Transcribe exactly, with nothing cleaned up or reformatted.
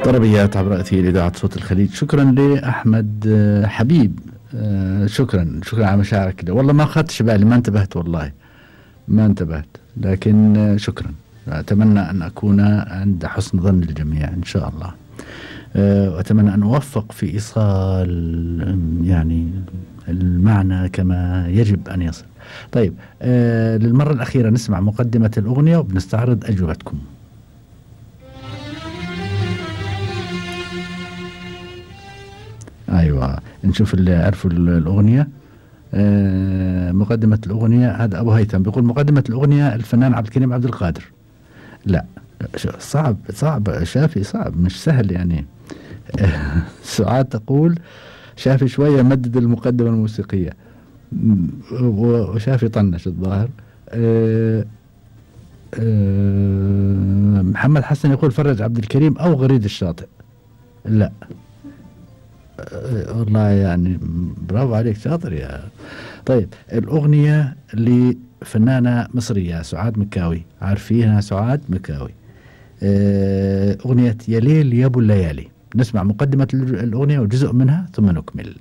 طربيات عبر أثير إذاعة صوت الخليج. شكرا لأحمد حبيب. شكرا شكرا على مشاعرك. والله ما أخذتش بالي، ما انتبهت، والله ما انتبهت، لكن شكرا. أتمنى أن أكون عند حسن ظن الجميع إن شاء الله. وأتمنى أن أوفق في إيصال يعني المعنى كما يجب أن يصل. طيب، للمرة الأخيرة نسمع مقدمة الأغنية وبنستعرض أجوبتكم. أيوة، نشوف اللي عرفوا الأغنية. آه مقدمة الأغنية، هذا أبو هيثم بيقول مقدمة الأغنية الفنان عبد الكريم عبد القادر. لا، صعب صعب شافي، صعب مش سهل يعني. آه سعاد تقول شافي شوية مدد المقدمة الموسيقية، وشافي طنش الظاهر. آه آه محمد حسن يقول فرج عبد الكريم أو غريد الشاطئ. لا والله يعني برافو عليك، شاطر يا. طيب، الأغنية لفنانة مصرية سعاد مكاوي، عارفينها سعاد مكاوي. أغنية يا ليل يا ابو الليالي. نسمع مقدمة الأغنية وجزء منها ثم نكمل.